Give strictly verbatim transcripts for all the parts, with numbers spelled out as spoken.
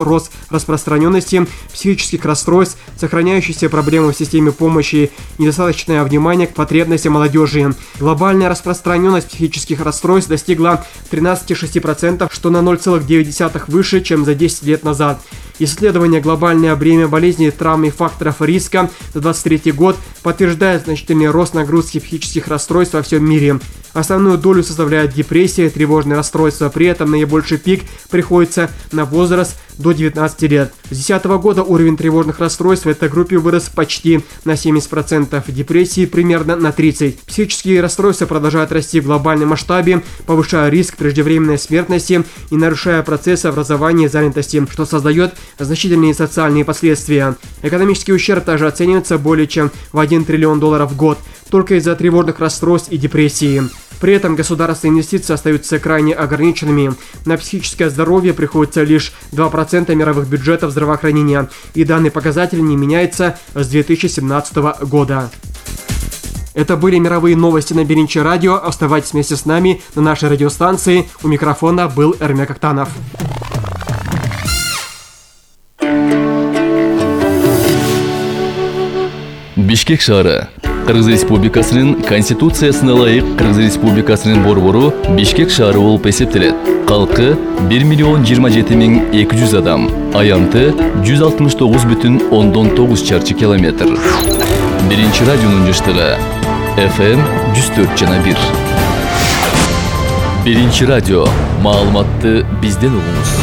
рост распространенности психических расстройств, сохраняющиеся проблемы в системе помощи, недостаточное внимание к потребностям молодежи. Глобальная распространенность психических расстройств достигла тринадцати шести процентов, что на ноль целых девять десятых выше, чем за десять лет назад. Исследование «Глобальное бремя болезней, травм и факторов риска» за двадцать третий год подтверждает значительный рост нагрузки психических расстройств во всем мире. Основную долю составляют депрессия и тревожные расстройства, при этом наибольший пик приходится на возраст до девятнадцати лет. С две тысячи десятого года уровень тревожных расстройств в этой группе вырос почти на семьдесят процентов, депрессии примерно на тридцать процентов. Психические расстройства продолжают расти в глобальном масштабе, повышая риск преждевременной смертности и нарушая процессы образования и занятости, что создает значительные социальные последствия. Экономический ущерб также оценивается более чем в один триллион долларов в год, только из-за тревожных расстройств и депрессии. При этом государственные инвестиции остаются крайне ограниченными. На психическое здоровье приходится лишь два процента мировых бюджетов здравоохранения, и данный показатель не меняется с две тысячи семнадцатого года. Это были мировые новости на Беринчи радио. Оставайтесь вместе с нами на нашей радиостанции. У микрофона был Эрмек Актанов. Бишкек шаары. Кыргыз Республикасынын Конституциясына ылайык Кыргыз Республикасынын борбору Бишкек шаары болуп эсептелет. Калкы бир миллион жыйырма жети миң эки жүз адам. Аянты жүз алтымыш тогуз бүтүн ондон тогуз чарчы километр. Биринчи радионун жыштыгы эф эм жүз төрт жана бир. Биринчи радио. Маалыматты бизден угуңуз.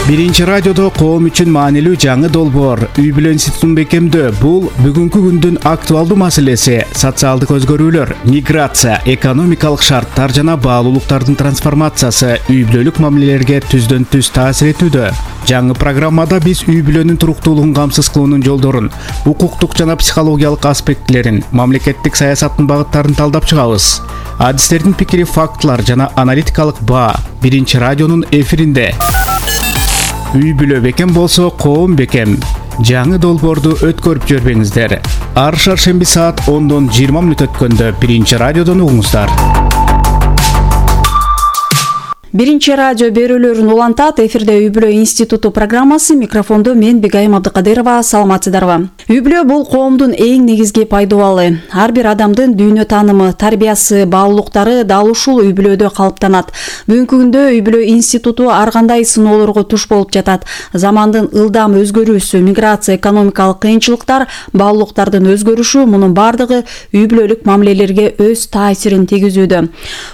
Биринчи радиодо коом үчүн маанилүү жаңы долбоор үй бүлө институтун бекемдөө. Бул бүгүнкү күндүн актуалдуу маселеси. Социалдык өзгөрүүлөр, миграция, экономикалык шарттар жана баалуулуктардын трансформациясы үй бүлөлүк мамилелерге түздөн түз таасир этүүдө. Жаңы программада биз үй бүлөнүн туруктуулугун камсыз кылуунун жолдорун, укуктук жана психологиялык аспектилерин, мамлекеттик саясаттын багыттарын талдап чыгабыз. Адистердин пикири, фактылар жана аналитикалык баа Биринчи радионун эфиринде. Үй бүлө бекем болсо, коом бекем. Жаңы долбоорду өткөрүп жүрбөңүздөр. Ар шаршемби саат ондон жыйырма мүнөт өткөндө Биринчи радиодон угуңуздар. Биринчи радио берүүлөрүн улантат. Эфирде үй бүлө институту программасы. Микрофондо мен Бегайым Абдыкадырова. Саламатсыздарбы? Үй бүлө бул коомдун эң негизги пайдубалы. Ар бир адамдын дүйнө таанымы, тарбиясы, баалуулуктары дал ушул үй бүлөдө калыптанат. Бүгүнкү күндө үй бүлө институту ар кандай сыноолорго туш болуп жатат. Замандын ылдам өзгөрүүсү, миграция, экономикалык кыйынчылыктар, баалуулуктардын өзгөрүшү, мунун бардыгы үй бүлөлүк мамилелерге өз таасирин тийгизүүдө.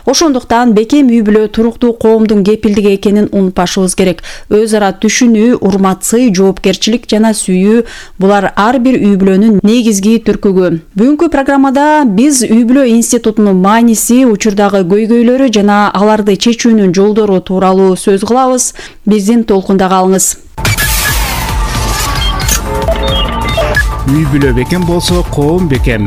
Ошондуктан бекем үй бүлө туруктуу коомдун кепилдиги экенин унутпашыбыз керек. Өз ара түшүнүү, урмат, сый, жоопкерчилик жана сүйүү — булар ар бир үй бүлөнүн негизги түркүгү. Бүгүнкү программада биз үй бүлө институтунун мааниси, учурдагы көйгөйлөрү жана аларды чечүүнүн жолдору тууралуу сөз кылабыз. Биздин толкунда калыңыз. Үй бүлө бекем болсо, коом бекем.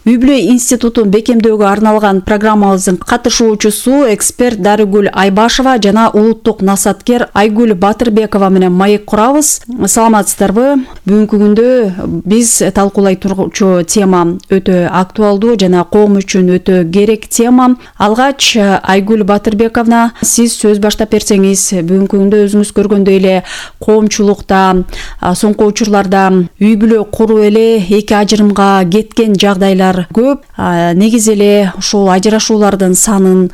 Үй бүлө институтун бекемдөөгө арналган программабыздын катышуучусу эксперт Дарыгүл Айбашева жана улуттук насаткер Айгүл Батырбекова менен маек курабыз. Саламатсыздарбы? Бүгүнкү күндө биз талкуулай тургучу тема өтө актуалдуу жана коом үчүн өтө керек тема. Алгач Айгүл Батырбековна, сиз сөз баштап берсеңиз. Бүгүнкү күндө өзүңүз көргөндөй эле коомчулукта, соңку учурларда үй бүлө куруп эле эки ажырымга кеткен жагдайлар көп. Негизи эле ушул ажырашуулардын санын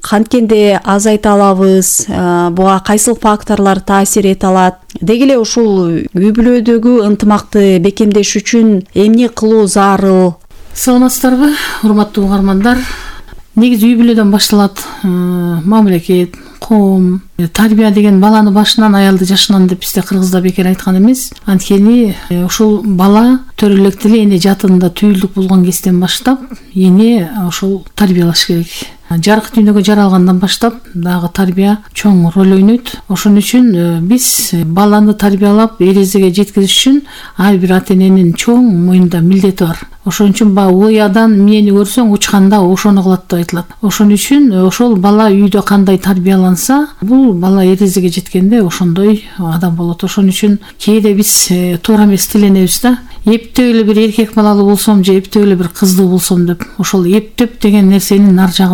канткенде азайта алабыз, буга кайсыл факторлор таасир эте алат? Деги эле ушул үй бүлөдөгү ынтымакты бекемдеш үчүн эмне кылуу зарыл? Саламатсыздарбы, урматтуу угармандар? Негизи үй бүлөдөн башталат мамлекет, коом, тарбия деген баланы башынан аялды жашынан деп бизде кыргызда бекер айткан эмес. Анткени ушул бала төрө электе эле эне жатында түйүлдүк болгон кезден баштап эне ушул тарбиялаш керек. жарык дүйнөгө жаралгандан баштап дагы тарбия чоң роль ойнойт. Ошон үчүн биз баланы тарбиялап эрезеге жеткизиш үчүн ар бир ата эненин чоң мойнунда милдети бар. Ошон үчүн баягы уядан эмнени көрсөң учканда ошону кылат деп айтылат. Ошон үчүн ошол бала үйдө кандай тарбияланса, бул бала эрезеге жеткенде ошондой адам болот. Ошон үчүн кээде биз туура эмес тиленебиз да. Эптеп эле бир эркек балалуу болсом же эптеп эле бир кыздуу болсом деп. Ошол эптеп деген нерсенин ар жагы